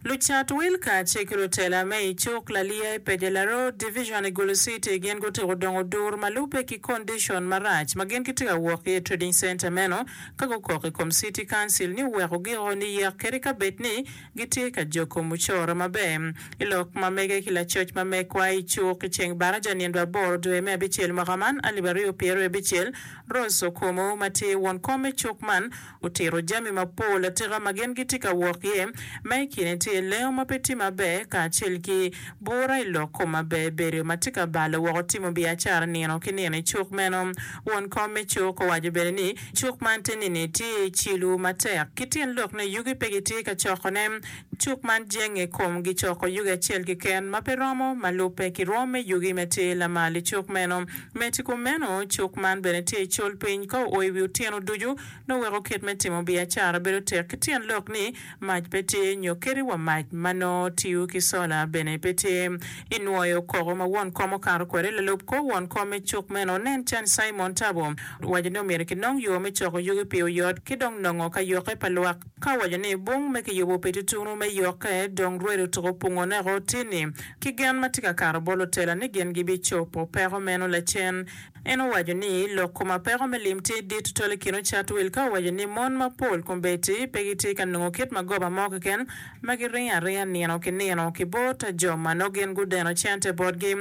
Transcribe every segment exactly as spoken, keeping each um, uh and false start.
Lucat wil kacel ki lutela me i cuk Laliya i Pejela Road Division i Gulu City gin gutyeko dongo dur ma lubbe ki condition marac ma gin gitye ka wok ki i trading center meno ka gukok i kom City Council ni oweko giko niyek kadi ka bed ni gitye ka joko mucoro maber. I lok ma mege ki lacoc ma mekwa i cuk i ceng baraja nindo aboro dwe me abicel mwaka man alip aryo pyeraryo abicel Rose Okumu ma tye won kom me cuk man otito jami mapol atika ma gin gitye ka wok iye ma i kine tye lengo ma pe tye maber kacel ki bura i lok kom maber bedo ma tye ka balo woko timo biacara nino ki nino i cuk meno. Won kom me cuk owaco bene ni cuk man te nini tye i cilo matek ki tyen lok ni yugi pe gitye ka cokone. Cuk man jenge i kom gicoko yugi acel keken ma pe romo ma lubbe ki rwom me yugi ma tye lamal i cuk meno. Medo i kom meno, cuk man bene tye i col piny ka oo i wi otyeno ducu nongo weko kit me timo biacara bedo tek ki tyen lok ni mac pe tye nyo kadi wa mac ma nongo tiyo ki sola bene pe tye. I nwoyo koko ma won kom okato kwede, lalub kor won kom me cuk meno nen can Simon Tabo owaco ni omyero kinong yo me coko yugi pi oyot ki dong nongo ka yokke pa lwak. Ka owaco ni bung me kiyubo pi tutunu me yokke dong rwed otuko pungo neko tini ki gen ma tye ka kato bot lutela ni gin gibicobo peko meno lacen. En owaco ni lok kom apeko me lim tye dit tutwal i kin ocat wil ka owaco ni mon mapol kombeddi pe gitye ka nongo kit magoba mo keken ma giringo aringa nino ki nino ki bot jo ma nongo gin gudeno cente botgi.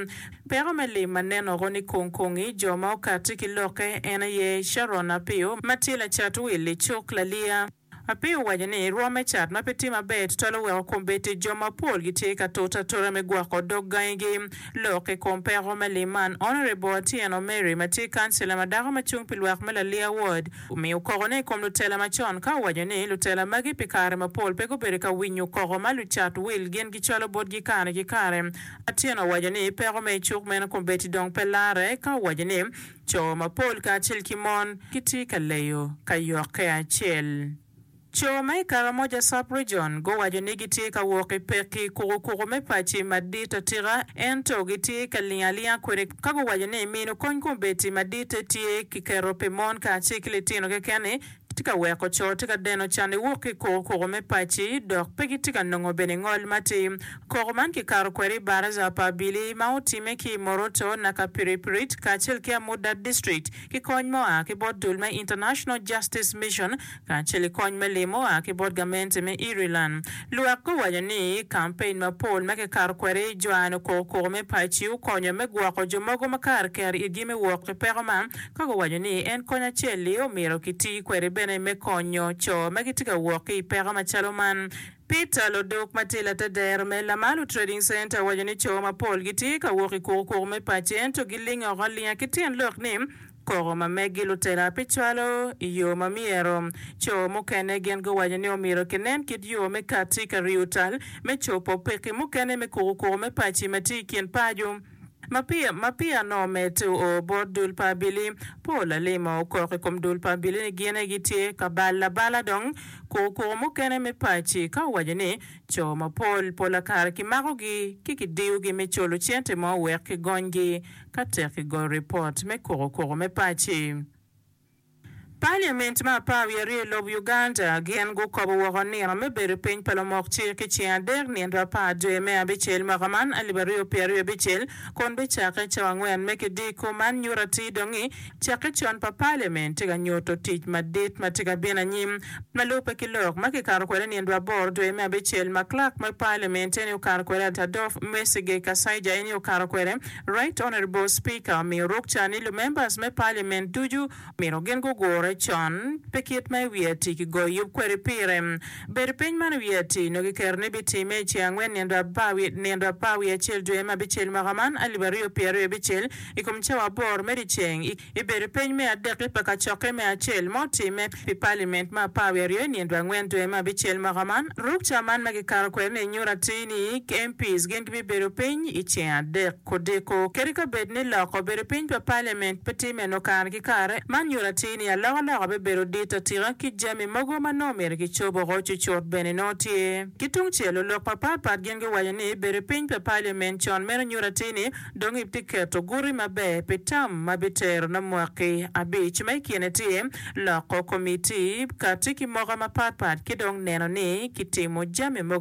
Peko me lim ma nen oko ni kong kongi jo ma okatti ki lokke en aye Sharon Apio ma tye lacat wil i cuk Laliya. Apio owaco ni rwom me cat ma pe tye maber tutwal oweko kombeddi jo mapol gitye ka tute atuta me gwoko dog gangigi. Lok i kom peko me lim man, Honourable Atieno Mary ma tye kancila ma dako ma cung pi lwak me Laliya Ward omiyo kokone i kom lutela macon ka owaco ni lutela magi pi kare mapol pe gubedo ka winyo koko ma lucat wil gin gicwalo botgi kare ki kare. Atieno owaco ni peko me icuk meno kombeddi dong pe larre ka owaco ni Co mapol kacel ki mon gitye ka leyo ka yokke acel. Co ma i Karamoja Sub-Region guwaco ni gitye ka wok i pekki kukukuku me paci madit atika ento gitye ka ling alinga kwede ka guwaco ni mino kony kombeddi maditte tye kiketo pi mon kacel ki litino keken-ni tye ka weko co tye ka deno can niwok ki i kukukuku me paci dok pe gitye ka nongo bene ngol matir. Koko man kikato kwede i baraza pa abili ma otimme ki i Moroto, Nakapiripirit kacel ki Amudat District ki kony ma oa ki bot dul me International Justice Mission kacel ki kony me lim ma oa ki bot gamente me Ireland. Lwak guwaco ni kampein mapol ma kikato kwede i jwano kukukuku me paci okonyo me gwoko jo mogo ma kare ker itgi me wok i peko man ka guwaco ni en kony acel-li omyero kiti kwede bene me konyo co ma gitye ka wok ki i peko macalo man. Peter Lodok ma tye latedero me Lamalu Trading Centre owaco ni co mapol gitye ka wok i kukukuku me paci ento gilingo oko alinga ki tyen lok ni koko ma meggi lutela pe cwalo i yo ma myero. Co mukene gin guwaco ni omyero kinen kit yo me katti ka riyo tal me cobo pekki mukene me kukukuku me paci ma tye i kin paco. Ma peya nongo omedde oo bot dul pa abili, Paul Alima okok i kom dul pa abili ni gin aye gitye ka balo abala dong kukukuku mukene me paci ka owaco ni co mapol pola kare kimakogi ki kidiyogi me culo cente mo wek kigonygi ka tek kigoyo ripot me kukukuku me paci. Paliament me apar wiye aryo i lobo Uganda gin gukobo woko nino me bedo piny pa lumok cik i ceng adek nindo apar dwe me abicel mwaka man alip aryo pyeraryo abicel kun bicakke cawa angwen me kidiko. Man nyuto atir dong ni cakke con pa paliament tye ka nyuto tic madit ma tye ka bino anyim ma lubbe ki lok ma kikato kwede nindo aboro dwe me abicel ma clerk me paliament eni okato kwede Adolf Mwesige Kasaija eni okato kwede Right Honourable Speaker omiyo rukca ni lumembers me paliament ducu Myero gin gugure con pi kit ma i wiye ati kigoyo yub kwede pire. Bedo piny man i wiye ati nongo giketo ni bitimme i ceng angwen nindo apar wiye acel dwe me abicel mwaka man alip aryo pyeraryo abicel i kom cawa aboro me dyeceng i bedo piny me adekki pa kacokke me acel ma otimme pi paliment me apar wiye aryo i nindo angwen dwe me abicel mwaka man. Rukca man ma gikato kwede ni nyuto atir ni MPs gin gibibedo piny i ceng adek kudiko. Kadi ka bed ni loko bedo piny pa paliment pe tye meno kare ki kare, man nyuto atir ni alokaloka bibedo dit atika ki jami mogo ma nongo myero kicob oko cucut bene nongo tye. Ki tungcel, lulok mapat pat gin giwaco ni bedo piny pa paliment con meno nyuto atir ni dong ibtye keto guti maber pi tam ma bitero ne mwaki abic ma i kine tye loko komitti, kati ki moka mapat pat ki dong neno ni kitimo jami mogo.